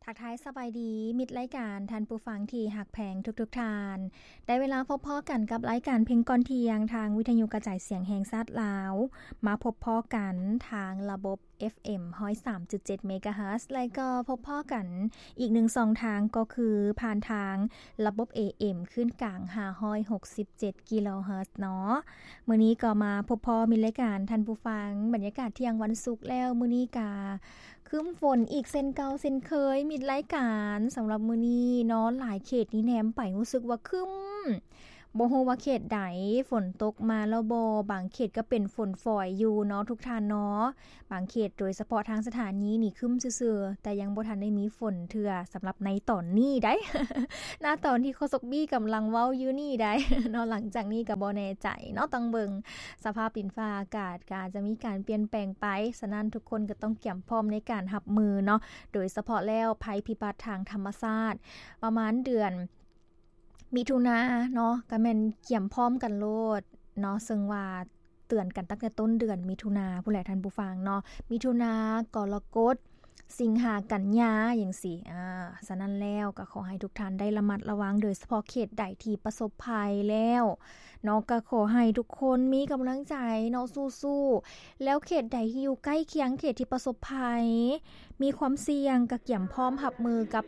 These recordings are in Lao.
ທັກທາຍສະບາຍດີມິດລາຍການ, ທ່ານຜູ້ຟັງທີ່ຮັກແພງທຸກໆທ່ານ. ໄດ້ເວລາພົບພໍ້ກັນກັບລາຍການເພງກ່ອນທ່ຽງ ທາງວິທະຍຸກະຈາຍສຽງແຫ່ງຊາດລາວ. ມາພົບພໍ້ກັນທາງລະບົບ ເອັຟເອັມ ຮ້ອຍສາມຈຸດເຈັດ ເມກາເຮີດ ແລະກໍພົບພໍ້ກັນອີກໜຶ່ງຊ່ອງທາງ ກໍຄືຜ່ານທາງລະບົບ ເອເອັມ ຄື້ນກາງ ຫ້າຮ້ອຍຫົກສິບເຈັດ ກິໂລເຮີດເນາະ. ມື້ນີ້ກໍມາພົບພໍ້ມິດລາຍການ, ທ່ານຜູ້ຟັງ, ບັນຍາກາດທ່ຽງວັນສຸກແລ້ວ. ມື້ນີ້ກະຄຶ້ມຝົນອີກເຊັ່ນເກົ່າເຊັ່ນເຄີຍ ມິດລາຍການ. ສຳລັບມື້ນີ້ເນາະ, ຫຼາຍເຂດນີ້ແນມໄປຮູ້ສຶກວ່າຄຶ້ມ. ບໍ່ຮູ້ວ່າເຂດໃດຝົນຕົກມາແລ້ວບໍ່, ບາງເຂດກໍເປັນຝົນຝອຍຢູ່ເນາະ ທຸກທ່ານເນາະ. ບາງເຂດໂດຍສະເພາະທາງສະຖານີນີ້ຄຶ້ມຊື່ໆ ແຕ່ຍັງບໍ່ທັນໄດ້ມີຝົນເທື່ອ ສຳລັບໃນຕອນນີ້ໃດ໋ ນະຕອນທີ່ໂຄສົກບີ້ກຳລັງເວົ້າຢູ່ນີ້ໃດ໋ເນາະ. ຫຼັງຈາກນີ້ກໍບໍ່ແນ່ໃຈເນາະ, ຕ້ອງເບິ່ງສະພາບດິນຟ້າອາກາດ ກໍອາດຈະມີການປ່ຽນແປງໄປ. ສະນັ້ນທຸກຄົນກໍຕ້ອງກຽມພ້ອມໃນການຮັບມືເນາະ, ໂດຍສະເພາະແລ້ວໄພພິບັດທາງທຳມະຊາດ ປະມານເດືອນ ມິຖຸນາເນາະ ກະແມ່ນກຽມພ້ອມກັນໂລດເນາະ, ເຊິ່ງວ່າເຕືອນກັນຕັ້ງແຕ່ຕົ້ນເດືອນມິຖຸນາພຸ້ນແຫຼະທ່ານຜູ້ຟັງເນາະ. ມິຖຸນາ, ກໍລະກົດ, ສິງຫາ, ກັນຍາ ຈັ່ງຊີ້. ອາ ສະນັ້ນແລ້ວກໍຂໍໃຫ້ທຸກທ່ານໄດ້ລະມັດລະວັງ, ໂດຍສະເພາະເຂດໃດທີ່ປະສົບໄພແລ້ວເນາະ ກໍຂໍໃຫ້ທຸກຄົນມີກຳລັງໃຈເນາະ, ສູ້ໆ. ແລ້ວເຂດໃດທີ່ຢູ່ໃກ້ຄຽງເຂດທີ່ປະສົບໄພ, ມີຄວາມສ່ຽງ, ກໍກຽມພ້ອມຮັບມືກັບ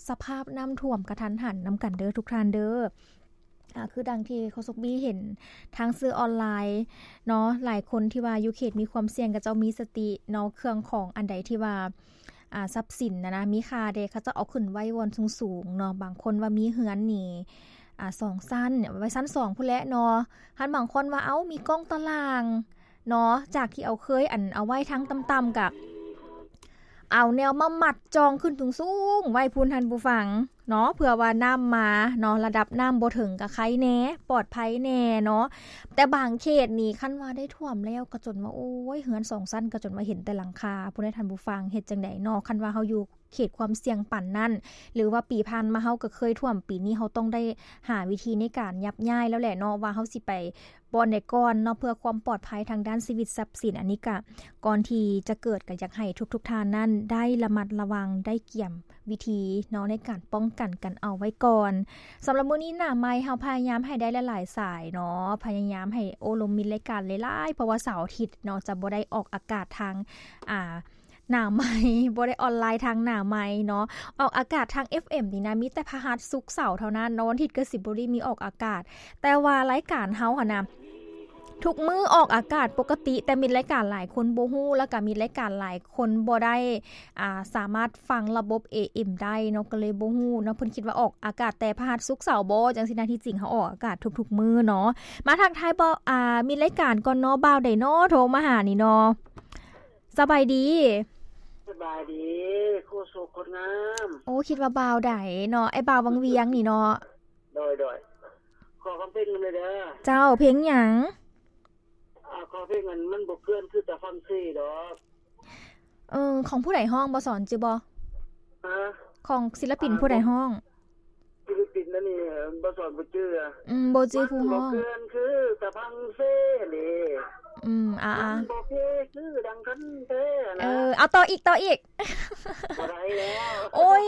ສະພາບນ້ຳຖ້ວມກະທັນຫັນນຳກັນເດີທຸກທ່ານເດີ. ອາ ຄືດັ່ງທີ່ໂຄສົກບີ້ເຫັນທາງສື່ອອນລາຍເນາະ, ຫຼາຍຄົນທີ່ວ່າຢູ່ເຂດມີຄວາມສ່ຽງ ເຂົາເຈົ້າມີສະຕິເນາະ, ເຄື່ອງຂອງອັນໃດທີ່ວ່າ ອາ ຊັບສິນນະນະ ມີຄ່າເດ ເຂົາເຈົ້າເອົາຂຶ້ນໄວ້ບ່ອນສູງໆເນາະ. ບາງຄົນວ່າມີເຮືອນນີ້ ອາ ສອງຊັ້ນ ໄວ້ຊັ້ນສອງພຸ້ນແຫຼະເນາະ. ຄັນບາງຄົນວ່າ ເອົ້າ ມີກ້ອງຕາລ່າງ ເນາະ, ຈາກທີ່ເອົາ ເຄີຍ ອັນ ເອົາໄວ້ທາງຕ່ຳໆ ກະເອົາແນວມາມັດຈ່ອງຂຶ້ນສູງໆໄວ້ພຸ້ນ ທ່ານຜູ້ຟັງເນາະ, ເພື່ອວ່ານ້ຳມາເນາະ, ລະດັບນ້ຳບໍ່ເຖິງກະໄຄແດ່ ປອດໄພແດ່ເນາະ. ແຕ່ບາງເຂດນີ້ ຄັນວ່າໄດ້ຖ້ວມແລ້ວ ກະຈົນວ່າ ໂອ້ຍ ເຮືອນສອງຊັ້ນ ກະຈົນວ່າເຫັນແຕ່ຫຼັງຄາພຸ້ນເດ ທ່ານຜູ້ຟັງ. ເຮັດຈັ່ງໃດເນາະ ຄັນວ່າເຮົາຢູ່ ເຂດຄວາມສ່ຽງປານນັ້ນ ຫຼືວ່າປີຜ່ານມາເຮົາກໍເຄີຍຖ້ວມ, ປີນີ້ເຮົາຕ້ອງໄດ້ຫາວິທີໃນການຍັບຍ້າຍແລ້ວແຫຼະເນາະ ວ່າເຮົາຊິໄປບ່ອນໃດກ່ອນເນາະ ເພື່ອຄວາມປອດໄພທາງດ້ານຊີວິດຊັບສິນ. ອັນນີ້ກະ ກ່ອນທີ່ຈະເກີດ ກະຢາກໃຫ້ທຸກໆທ່ານນັ້ນໄດ້ລະມັດລະວັງ, ໄດ້ກຽມວິທີເນາະ ໃນການປ້ອງກັນກັນເອົາໄວ້ກ່ອນ. ສຳລັບມື້ນີ້ໜ້າໄມເຮົາພະຍາຍາມໃຫ້ໄດ້ຫຼາຍໆສາຍເນາະ, ພະຍາຍາມໃຫ້ໂອ້ລົມມິດລາຍການຫຼາຍໆ ເພາະວ່າເສົາອາທິດເນາະ ຈະບໍ່ໄດ້ອອກອາກາດທາງ ອ່າ ໜ້າໄມ ບໍ່ໄດ້ອອນລາຍທາງໜ້າໄມເນາະ. ອອກອາກາດທາງ ເອັຟເອັມ ນີ້ນະ ມີແຕ່ພະຫັດ ສຸກ ເສົາເທົ່ານັ້ນເນາະ, ວັນອາທິດກໍຊິບໍ່ໄດ້ມີອອກອາກາດ. ແຕ່ວ່າລາຍການເຮົາຫັ້ນນະ ທຸກມື້ອອກອາກາດປົກກະຕິ, ແຕ່ມິດລາຍການຫຼາຍຄົນບໍ່ຮູ້ ແລ້ວກໍມິດລາຍການຫຼາຍຄົນບໍ່ໄດ້ ອ່າ ສາມາດຟັງລະບົບ ເອເອັມ ໄດ້ເນາະ, ກໍເລີຍບໍ່ຮູ້ເນາະ. ເພິ່ນຄິດວ່າອອກອາກາດແຕ່ພະຫັດ ສຸກ ເສົາບໍ ຈັ່ງຊີ້ນະ, ທີ່ຈິງເຮົາອອກອາກາດທຸກໆມື້ເນາະ. ມາທັກທາຍ ບ່າວ ອ່າ ມິດລາຍການກ່ອນເນາະ, ບ່າວໃດເນາະ ໂທມາຫານີ້ເນາະ? ສະບາຍດີ. ສະບາຍດີ ໂຄສົກຄົນງາມ. ໂອ້ ຄິດວ່າບ່າວໃດເນາະ, ອ້າຍບ່າວວັງວຽງນີ້ເນາະ. ໂດຍ ໂດຍ. ຂໍຟັງເພງນຳແດ່ເດີ. ເຈົ້າ, ເພງຫຍັງ? ອ່າ ຂໍເພງອັນມັນບໍ່ເກີນຄືຕາຝັ່ງເສດອກ. ເອີ ຂອງຜູ້ໃດຮ້ອງ ບໍ່ສອນຈື່ບໍ່? ຮະ? ຂອງສິນລະປິນຜູ້ໃດຮ້ອງ? ສິນລະປິນອັນນີ້ ບໍ່ສອນບໍ່ຈື່. ອືມ ບໍ່ຈື່ຜູ້ຮ້ອງ. ມັນບໍ່ເກີນຄືຕາຝັ່ງເສເດ. ອືມ ອ່າໆ ມັນບໍ່ເຄີຄືດັ່ງຄັນແທ້ນະ. ເອີ ເອົາຕໍ່ອີກ ຕໍ່ອີກ. ບໍ່ໄດ້ແລ້ວ. ໂອ້ຍ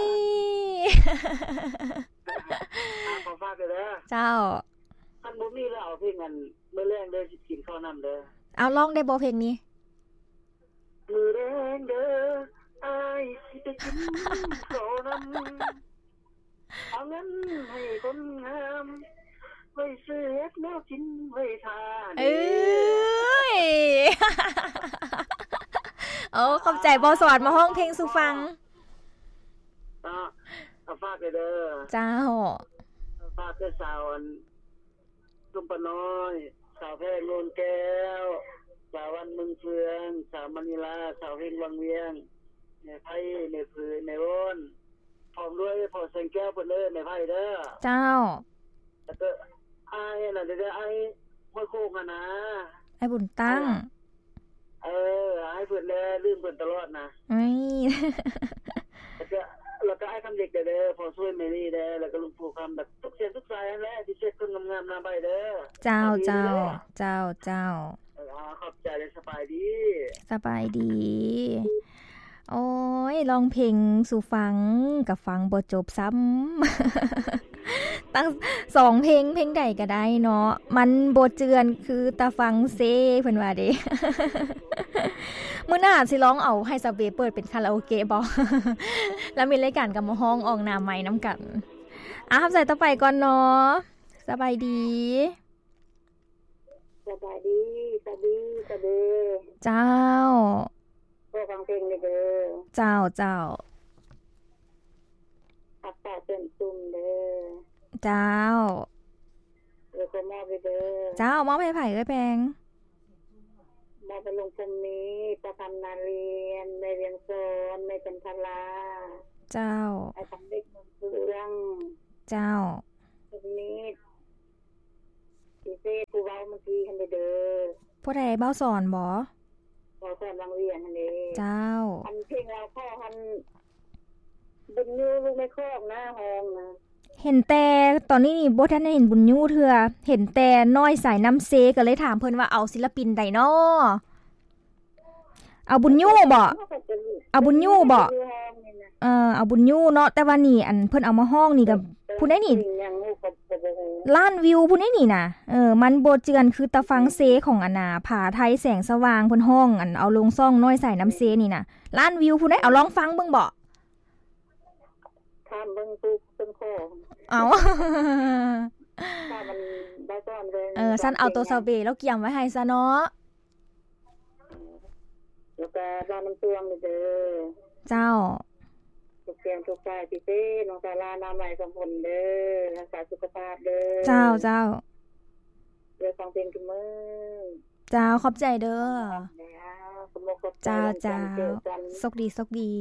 ອ່າ ຂໍຝາກເດີ. ເຈົ້າ. ຄັນບໍ່ມີແລ້ວ ເອົາເພງອັນ ມື້ແລງເດີ ຊິກິນເຂົ້ານຳເດີ. ເອົາ ຮ້ອງໄດ້ບໍ່ເພງນີ້? ມື້ແລງເດີ ອ້າຍຊິໄປກິນເຂົ້ານຳ, ເອົາເງິນໃຫ້ຄົນງາມ ໄວ້ຊື້ເຮັດແນວກິນໄວ້ຖ້າ. ເອີຍ ໂອ້ ຂອບໃຈ ບ່າວສອນມາຮ້ອງເພງສູ່ຟັງ. ອ່າ ຝາກເດີ. ເຈົ້າ. ຝາກເດີສາວອັນ ສົມປະນ້ອຍ, ສາວແພງໂນນແກ້ວ, ສາວວັນເມືອງເຟືອງ, ສາວມະນີລາ, ສາວເຮັງວັງວຽງ, ແມ່ໄພ, ແມ່ຜື, ແມ່ວອນ, ພ້ອມດ້ວຍພໍ່ແສງແກ້ວເພິ່ນເດີ ແມ່ໄພເດີ. ເຈົ້າ. ແລ້ວກໍອ້າຍອັນນັ້ນເດີ ອ້າຍຫ້ວຍໂຄກຫັ້ນນາ, ອ້າຍບຸນຕັ້ງ. ເອີ ໃຫ້ເພິ່ນແດ່ ລືມເພິ່ນຕະຫຼອດນະ. ເອີຍ ແລ້ວກະ ແລ້ວກະອ້າຍຄຳເດັກແດ່ເດີ ພໍ່ຊ່ວຍແມ່ນີ້ແດ່ ແລ້ວກະລຸງພູຄຳ ແບບທຸກສຽງທຸກສາຍຫັ້ນແຫຼະ ທີ່ເຊັດຄົນງາມໆໜ້າໃບເດີ. ເຈົ້າ ເຈົ້າ ເຈົ້າ ເຈົ້າ. ເອີ ຂອບໃຈ ແລະ ສະບາຍດີ. ສະບາຍດີ. ໂອ້ຍ ຮ້ອງເພງສູ່ຟັງ ກໍຟັງບໍ່ຈົບຊ້ຳ. ຕັ້ງສອງເພງ ເພງໃດກໍໄດ້ເນາະ ມັນບໍ່ເຈື່ອນຄືຕາຟັງເຊ ເພິ່ນວ່າເດ້. ມື້ໜ້າຊິລອງເອົາໃຫ້ສາວເບເປີດເປັນຄາຣາໂອເກະບໍ? ລະມີລາຍການກໍມາຮ້ອງອອກໜ້າໄມນຳກັນ. ອ່າ ຮັບສາຍຕໍ່ໄປກ່ອນເນາະ. ສະບາຍດີ. ສະບາຍດີ ສະບາຍດີ ສະບາຍດີ. ເຈົ້າ. ຂໍຟັງເພງແດ່ເດີ. ເຈົ້າ ເຈົ້າ. ຮັກສາເຊື່ອມຊຸ່ມເດີ. ເຈົ້າ. ເອີ ຂໍມອບເດີ. ເຈົ້າ ມອບໃຫ້ໃຜເອີຍແພງ? ມອບໃຫ້ລຸງພົມມີ, ປ້າຄຳນາລຽນ, ແມ່ວຽງສອນ, ແມ່ຈັນທະລາ. ເຈົ້າ. ອ້າຍຄຳເລັກ ເມືອງເຟືອງ. ເຈົ້າ. ສຸກນິດ. ພິເສດຜູ້ເວົ້າເມື່ອກີ້ຫັ້ນເດີ. ຜູ້ໃດ? ເບົາສອນບໍ? ເບົາສອນວັງວຽງຫັ້ນເດ. ເຈົ້າ. ອັນເພງລາວຂໍຫັ້ນ ບຸນຍູລູກແມ່ຄອກນະ ຮ້ອງນະ. ເຫັນແຕ່ ຕອນນີ້ນີ້ບໍ່ທັນໄດ້ເຫັນບຸນຍູເທື່ອ ເຫັນແຕ່ນ້ອຍສາຍນ້ຳເຊ ກໍເລີຍຖາມເພິ່ນວ່າເອົາສິນລະປິນໃດນໍ? ເອົາບຸນຍູບໍ? ເອົາບຸນຍູບໍ? ເອີ ເອົາບຸນຍູເນາະ ແຕ່ວ່ານີ້ ອັນເພິ່ນເອົາມາຮ້ອງນີ້ກໍ ຜູ້ໃດນີ້ ລ້ານວິວຜູ້ໃດນີ້ນະ. ເອີ ມັນບໍ່ເຈື່ອນຄືຕາຟັງເຊຂອງອັນນ່າ ຜາໄທແສງສະຫວ່າງ ເພິ່ນຮ້ອງ ອັນເອົາລົງຊ່ອງນ້ອຍສາຍນ້ຳເຊນີ້ນະ ລ້ານວິວຜູ້ໃດ. ເອົາລອງຟັງເບິ່ງບໍ? ຖາມເບິ່ງຜູ້ເພິ່ນຂໍ. ເອົາ ຖ້າມັນບໍ່ສອນເລີຍ. ເອີ ຊັ້ນເອົາໂຕສາວເບລາວກຽມໄວ້ໃຫ້ຊະເນາະ. ແລ້ວກະລາວນ້ຳຕວງເດີ. ເຈົ້າ. ທຸກແກ້ວທຸກສາຍ ພິເສດນ້ອງສາລາ ນາໄມສຳພົນເດີ ຮັກສາສຸຂະພາບເດີ. ເຈົ້າ ເຈົ້າ. ເດີ ຟັງເພງທຸກມື້. ເຈົ້າ ຂອບໃຈເດີ. ເຈົ້າ ເຈົ້າ. ໂຊກດີ ໂຊກດີ.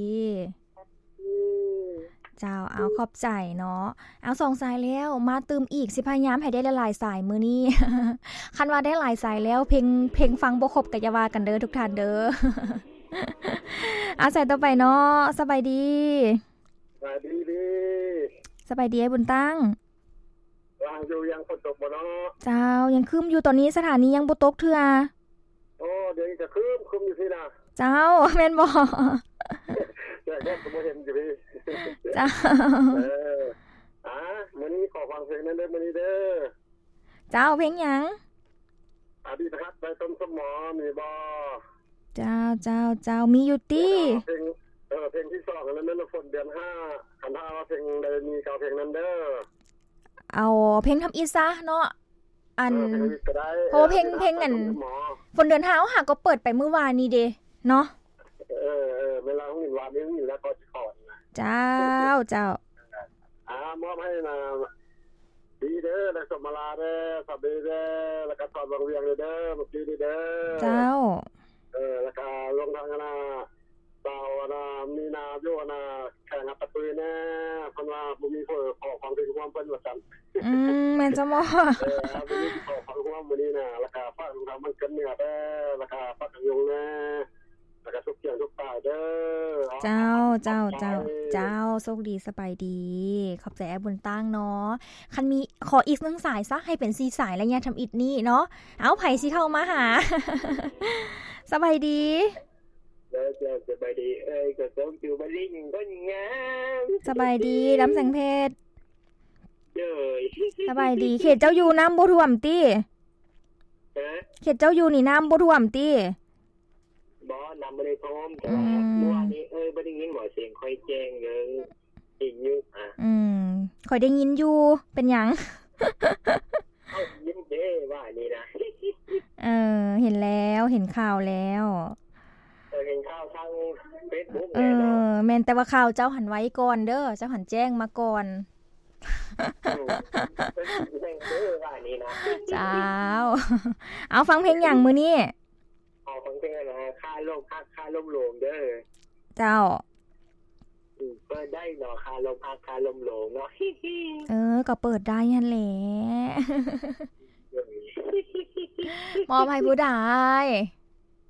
ເຈົ້າ ເອົາ ຂອບໃຈເນາະ. ເອົາ ສອງສາຍແລ້ວ ມາຕື່ມອີກ ຊິພະຍາຍາມໃຫ້ໄດ້ຫຼາຍໆສາຍມື້ນີ້. ຄັນວ່າໄດ້ຫຼາຍສາຍແລ້ວ ເພງ ເພງຟັງບໍ່ຄົບກໍຢ່າວ່າກັນເດີທຸກທ່ານເດີ. ເອົາ ສາຍຕໍ່ໄປເນາະ. ສະບາຍດີ. ສະບາຍດີ. ສະບາຍດີອ້າຍບຸນຕັ້ງ. ວ່າງຢູ່ ຍັງຝົນຕົກບໍ່ເນາະ? ເຈົ້າ ຍັງຄຶ້ມຢູ່ ຕອນນີ້ສະຖານີຍັງບໍ່ຕົກເທື່ອ. ໂອ້ ດຽວນີ້ກະຄຶ້ມ ຄຶ້ມຢູ່ຊີ້ນະ. ເຈົ້າ ແມ່ນບໍ່? ແດດກໍບໍ່ເຫັນຢູ່ພີ້. ເຈົ້າ. ເອີ ອ່າ ມື້ນີ້ຂໍຟັງເພງແດ່ເດີ ມື້ນີ້ເດີ. ເຈົ້າ ເພງຫຍັງ? ອະດີດຮັກໄດ້ຕົ້ນສະໝໍ ມີບໍ່? ເຈົ້າ ເຈົ້າ ເຈົ້າ ມີຢູ່ຕິ. ເພງ ເອີ ເພງທີສອງ ອັນນັ້ນແມ່ນຝົນເດືອນຫ້າ ຄັນຖ້າວ່າເພງໃດມີກໍເອົາເພງນັ້ນເດີ. ເອົາເພງທຳອິດຊະເນາະ ອັນ ເອີ ເພງທຳອິດກໍໄດ້. ເພາະວ່າເພງ ເພງອັນ ຝົນເດືອນຫ້າ ເຮົາຫາກໍເປີດໄປມື້ວານນີ້ເດເນາະ. ເອີ ເອີ ເວລາເຮົາຍິນວານນີ້ຍິນແລ້ວກໍຊິຂໍນະ. ເຈົ້າ ເຈົ້າ. ອ່າ ມອບໃຫ້ນະ ດີເດີ ແລະ ສົມມາລາເດີ ສາເບເດີ ແລ້ວກະສອນວັງວຽງເດີ ເດີ ບັກດີເດີ. ເຈົ້າ. ເອີ ແລ້ວກະລວມທັງອັນນະ ສາວອັນນະ ມີນາຢູ່ອັນນະ ແຂວງອັດຕະປືແດ່ ເພິ່ນວ່າບໍ່ມີຜູ້ຂໍຟັງເພງຮ່ວມເພິ່ນວ່າຊັ້ນ. ອືມ ແມ່ນຊະບໍ? ເອີ ບໍ່ມີຜູ້ຂໍຟັງຮ່ວມມື້ນີ້ນະ. ແລ້ວກະຝາກທາງບ້ານເກີດເໜືອເດີ ແລ້ວກະປາກກະຍົງແດ່ ແລ້ວກະທຸກກຽງທຸກປາຍເດີ. ເຈົ້າ ເຈົ້າ ເຈົ້າ ເຈົ້າ ໂຊກດີ ສະບາຍດີ. ຂອບໃຈອ້າຍບຸນຕັ້ງເນາະ. ຄັນມີ ຂໍອີກໜຶ່ງສາຍຊະ ໃຫ້ເປັນສີ່ສາຍໄລຍະທຳອິດນີ້ເນາະ. ເອົາ ໃຜຊິເຂົ້າມາຫາ? ສະບາຍດີ. ເຈົ້າ ເຈົ້າ ສະບາຍດີເອີຍ ກໍສົມຢູ່ມາລິງຄົນງາມ. ສະບາຍດີ ດຳແສງເພັດ. ໂດຍ. ສະບາຍດີ. ເຂດເຈົ້າຢູ່ນ້ຳບໍ່ຖ້ວມຕິ? ຮະ? ເຂດເຈົ້າຢູ່ນີ້ນ້ຳບໍ່ຖ້ວມຕິ? ບໍ່ ນ້ຳບໍ່ໄດ້ຖ້ວມ ແຕ່ວ່າ ອືມ ເມື່ອວານນີ້ ເອີ ບໍ່ໄດ້ຍິນບໍ່ສຽງຂ້ອຍແຈ້ງເດີ? ໄດ້ຍິນຢູ່ ອາ ອືມ ຂ້ອຍໄດ້ຍິນຢູ່. ເປັນຫຍັງ? ເອົ້າ ຍິນເດ້ວ່ານີ້ນະ. ເອີ ເຫັນແລ້ວ ເຫັນຂ່າວແລ້ວ. ເອີ ເຫັນຂ່າວທາງເຟສບຸກ. ເອີ ແມ່ນ ແຕ່ວ່າຂ່າວເຈົ້າຫັ້ນໄວກ່ອນເດີ ເຈົ້າຫັ້ນແຈ້ງມາກ່ອນ. ອືມ ເອີ ເຫັນເດີວ່ານີ້ນະ. ເຈົ້າ. ເອົາ ຟັງເພງຫຍັງມື້ນີ້? ຂໍຟັງເພງອັນນະ ຄາລົມຮັກ ຄາລົມຫຼວງເດີ. ເຈົ້າ. ອືມ ເປີດໄດ້ເນາະ ຄາລົມຮັກ ຄາລົມຫຼວງເນາະ. ເອີ ກໍເປີດໄດ້ຫັ້ນແຫຼະ. ມອບໃຫ້ຜູ້ໃດ?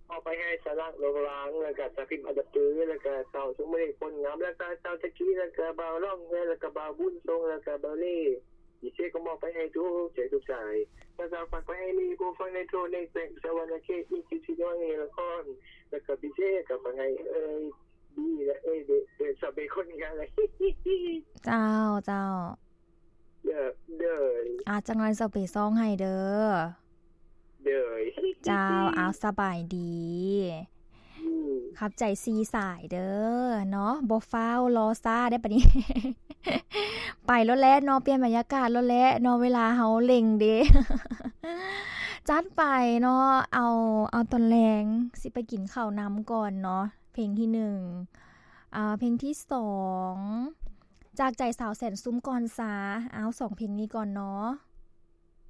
ມອບໄປໃຫ້ສາວລັກ ໂລງລາງ ແລ້ວກະສາວພິມ ອັນດະປື ແລ້ວກະສາວສຸມມະນີ ໂພນງາມ ແລ້ວກະສາວຕະກີ ແລ້ວກະບ່າວລ້ອງແຮ ແລ້ວກະບ່າວບຸນຊົງ ແລ້ວກະບ່າວເລ. ພິເສດກໍມອບໄປໃຫ້ທຸກເສຍງທຸກສາຍ. ແລ້ວກໍຝາກໄປໃຫ້ມີຜູ້ຟັງໃນທົ່ວໃນແຂວງສະຫວັນນະເຂດ ມີສິບສີ່ແຫ່ງນະຄອນ. ແລ້ວກໍພິເສດກໍຝາກໃຫ້ເອີຍ ນີ້ແຫຼະ ເອີຍ ເດີ ເດີ ຊາວເບຄົນນີ້ແຫຼະ ເຈົ້າ ເຈົ້າ ເດີ ເດີ ອາ ຈັກໜ້ອຍຊາວເບຊອງໃຫ້ເດີ ເດີ ເຈົ້າ ອາວ ສະບາຍດີ ອືມ ຂອບໃຈສີ່ສາຍເດີເນາະ ບໍ່ຟ້າວລໍຊ້າໄດ໋ປານນີ້ ໄປໂລດແຫຼະເນາະ ປ່ຽນບັນຍາກາດໂລດແຫຼະເນາະ ເວລາເຮົາເລັ່ງເດ ຈັດໄປເນາະ ເອົາ ເອົາຕອນແລງ ຊິໄປກິນເຂົ້ານຳກ່ອນເນາະ ເພງທີໜຶ່ງ ອາ ເພງທີສອງ ຈາກໃຈສາວແສນຊຸ່ມກ່ອນຊາ ເອົາ ສອງເພງນີ້ກ່ອນເນາະ.